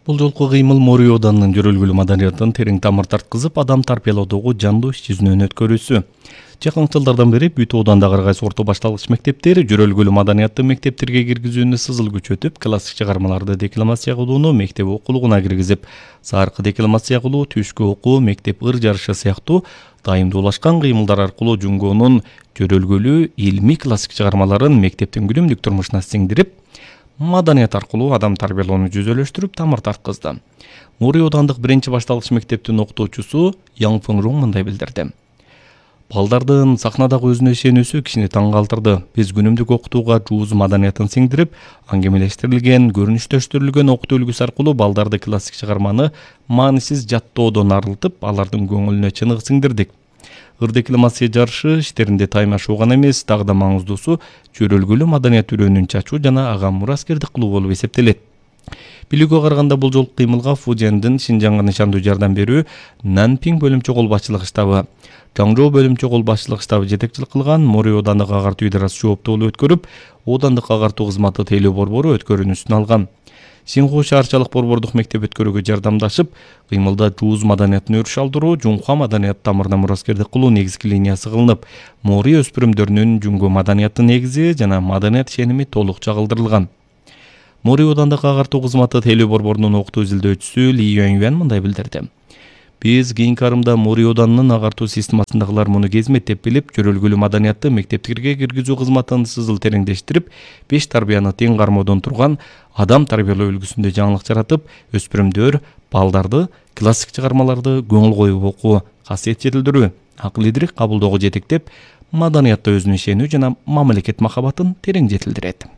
Бул жолку кыймыл Мори Оданынын жөрөлгүлүү маданиятын терең тамыр тарткызып, адам тарбиялоодогу жандуу иш жүзүнөн өткөрүүсү. Жакынкы жылдардан бери бүт Одандагы ар кайсы орто башталгыч мектептер жөрөлгүлүү маданиятты мектептерге киргизүүнү сызыл күчөтүп, классик чыгармаларды декламация кылууну мектеп окулугуна киргизип, саркы декламация кылуу, түшкү окуу, мектеп ыр жарышы сыяктуу дайымдуулашкан кыймылдар аркылуу Жунгонун жөрөлгүлүү илмий классик чыгармаларын мектептин күнүмдүк турмушуна сиңдирип, маданият аркылуу адам тарбиялоону жүзөлөштүрүп, тамыр тарткызды. Мори Одандык биринчи башталгыч мектептин окутуучусу Яң Фыңрун мындай билдирди. Балдардын сахнадагы өзүнө ишенүүсү кишини таң калтырды. Биз күнүмдүк окутууга жууз маданиятын сиңдирип, аңгемелештирилген, көрүнүштөштүрүлгөн окутуу үлгүсү аркылуу балдарды классик чыгарманы маанисиз жаттоодон арылтып, алардын көңүлүнө чыныгы сиңдирдик. Ыр декламация жарышы иштеринде таймашуу гана эмес, дагы да маңыздуусу жөрөлгүлүү маданият үрөөнүн чачуу жана ага мураскердик кылуу болуп эсептелет. Билүүгө караганда бул жолку кыймылга Фужендин Шинжаңга нышандуу жардам берүү Нанпиң бөлүмчө кол башчылык штабы, Жаңжоо бөлүмчө кол башчылык штабы жетекчилик кылган. Мори Одандык агартуу идарасы жооптуулук өткөрүп, Одандык агартуу кызматы тейлөө борбору өткөрүүнүсүн алган. Синху шаарчалык борбордук мектеп өткөрүүгө жардамдашып, кыймылда жууз маданиятын өрүш алдыруу, Жунхва маданият тамырына мураскердик кылуу негизги линиясы кылынып, Мори өспүрүмдөрүнүн Жунго маданиятты негизи жана маданият ишеними толук чагылдырылган. Мори Одандык агартуу кызматы тейлөө борборунун окутуу изилдөөчүсү Ли Юань мындай билдирди. Биз кийинки арымда Мори Оданынын агартуу системасындагылар муну кезмет деп билип, жөрөлгүлүү маданиятты мектептерге киргизүү кызматын сызыл тереңдештирип, 5 тарбияны тең кармоодон турган адам тарбиялоо үлгүсүндө жаңылык жаратып, өспүрүмдөр, балдарды классик чыгармаларды көңүл коюп окуу, касиет жетилдирүү, акыл идирик кабылдоого жетектеп, маданиятта өзүнө ишенүү жана мамлекет махабатын терең жетилдирет.